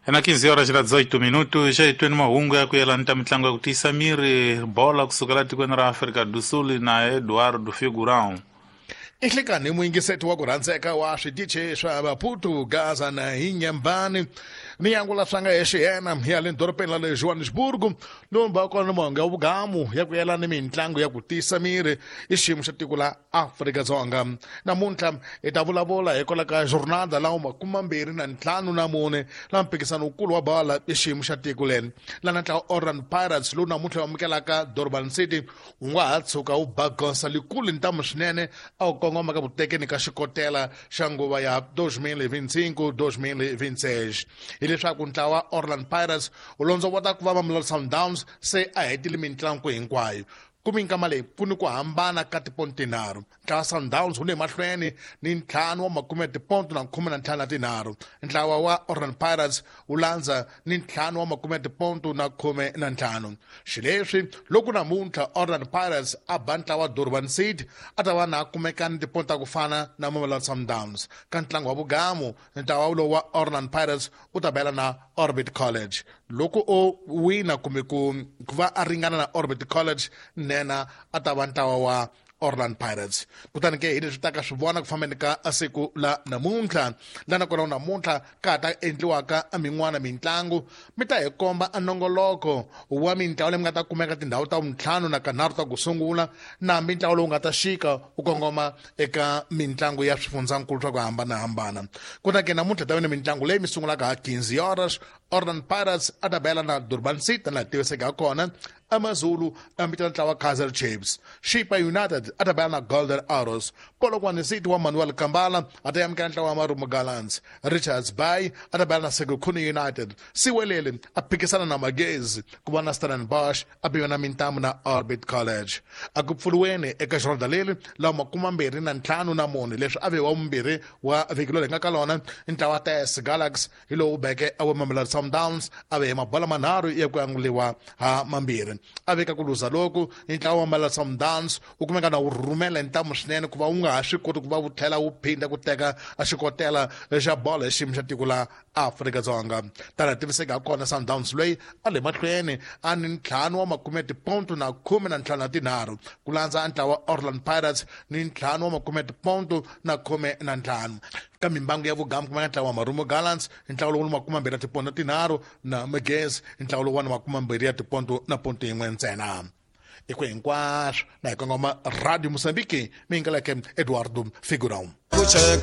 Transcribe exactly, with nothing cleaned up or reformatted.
Na quinze horas na dezoito minutos, já estou numa hunga ya kuyelana mitlango ya ku tiyisa miri bola kusukela tikweni ra Afrika do Sul na Eduardo Figurão. Inhlekani muyingiseti wa ku rhandzeka wa switichi swa Maputo, Gaza na Inhambane ni yangula swanga exiyena ya le dorobeni ra le Johannesburg lowu kona monga wa vugamu ya ku yelana mitlangu ya ku tiyisa miri i xiyimo xa tiko la Afrika-Dzonga. Namuntlha hi ta vulavula hikwalaho ka jornada lawa makume mambirhi na ntlhanu na mune la mphikizano wukulu wa bola i xiyimo xa tiko leri lana ntlawa Orlando Pirates lowu namuntlha wu amukelaka Durban City wu nga ha tshuka wu ba goza likulu ntamu swinene a wu kongoma ka vutekeni ka xikotela xa nguva ya dois mil e vinte e cinco dois mil e vinte e seis. Hileswaku ntlawa Orlando Pirates wu londzovota ku va Mamelodi Sundowns se a hetile mitlangu hinkwayo. Ku minkama leyi ku ni ku hambana ka tiponto tinharhu. Ntlawa Sundowns wu le mahlweni ni ntlhanu wa makume tiponto na khume na ntlhanu na tinharhu. Ntlawa wa Orlando Pirates wu landza ni ntlhanu wa makume tiponto na khume na ntlhanu. Xileswi loko namuntlha Orlando Pirates a ba ntlawa Durban City a ta va na kumeka ni tiponto ta ku fana na Mamelodi Sundowns. Ka ntlangu wa vugamu ntlawa lowu wa Orlando Pirates wu ta bela na Orbit College. Loko o wina kumbe ku va a ringana na Orbit College nena a ta va ntlawa wa Orlando Pirates. Kutani ke hi leswi ta ka swi vona ku fambeni ka siku la namuntlha lana kona namuntlha ka ha ta endliwaka a min'wana mitlangu mi ta hi komba a nongoloko wa mintlawa leyi mi nga ta kumeka tindhawu ta vuntlhanu na kanharhu ta ku sungula na mintlawa lowu nga ta xika wu kongoma eka mitlangu ya swifundzankulu swa ku hambanahambana. Kutani ke namuntlha ta va ni mitlangu leyi mi sungulaka ha quinze horas Orlando Pirates a ta bela na Durban City laha tiviseke ha kona. AmaZulu ambitana ntlawa Kaizer Chiefs. Chippa United a ta bela na Golden Arrows. Polokwane City wa Manuel Kambala a ta amukela ntlawa wa Marumo Gallants. Richards Bay a ta bela na Sekhukhune United. Siwelele a phikisana na Magezi ku va na Stellenbosch a biwa na mintamu na Orbit College. A ku pfuriweni eka xirhonda leri lawa makume mambirhi na ntlhanu na mune leswi a ve wa vumbirhi wa vhiki leri hi nga ka lona ntlawa T S Galaxy hi lowu beke a wa Mamelodi Sundowns a ve hi mabola manharhu ya ku anguliwa ha mambirhi. A veka ku luza loku ntlawa wa Mamelodi Sundowns wu kumeka na wu rhumela ntamu swinene ku va wu nga ha swi koti ku va wu tlhela wu phinda ku teka a xikotela xa bolo hi xiyimo xa tiko la Afrika-Dzonga. Tana tiviseka ha kona Sundowns loyi a le mahlweni a ni ntlhanu wa makume tiponto na khume na ntlhanu na tinharhu ku landza ntlawa Orlando Pirates ni ntlhanu wa makume tiponto na khume na ntlhanu. Ka mimbangu ya vugamu kumeka ntlawa wa Marumo Gallants ntlawa lowu makume mambirhi ya tiponto tinharhu na Magezi ntlawa lowu wa makume mambirhi ya tiponto na ponto yin'we ntsena. I ku hinkwaswo na hi kongoma Radio Mozambique mi yingeleke Eduardo Figurão.